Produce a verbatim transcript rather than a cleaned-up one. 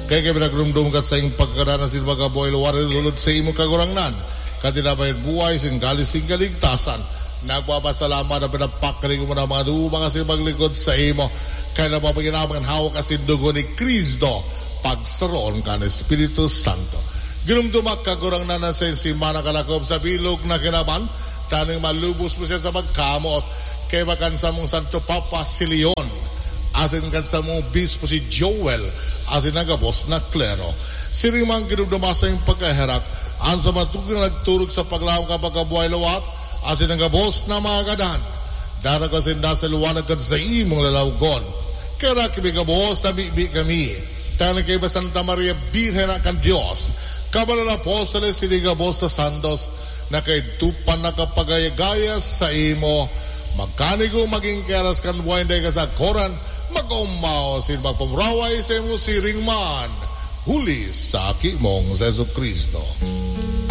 Kaya kami nagrumdum ka sa iyong pagkadana sin mga buhay luwar lulod sa imong Kagurangnan, kan tinapay buhay sin galis sin kaligtasan. Nagpapasalamat na pinapakali ko mo na mga duwa kasi maglikod sa imo. Kaya na mapaginaman hawak asin dugo ni Cristo, pagsaroon kan Espiritu Santo. Ginumdumak, Kagurangnan, na sa simana kalakop sa bilog na kinaban, tanong malubos mo siya sa pagkamot. Kaya kan samong Santo Papa si Leon, asin kan samong Obispo si Joel, asin ang gabos na klero. Siring man ginumdumak sa iyong pagkaherak, an sa mga tugang nagturog sa paglaom kan pagkabuhay lawat, asin ang gabos na mga gadan. Daraga sinda sa liwanag kan sa imong lalawgon. Kaya kimi gabos, namibi kami. Tanang kay Santa Maria, Birhen na kan Dios. Kabanal na apostoles, sini gabos sa santos, na kaidto pa nakapagayagaya sa imo. Magkanigo magin keras kan buhay na kasakoran, mag-umaw sin magpamuraway sa imo siring man. Huli sa aki mong Jesu Cristo.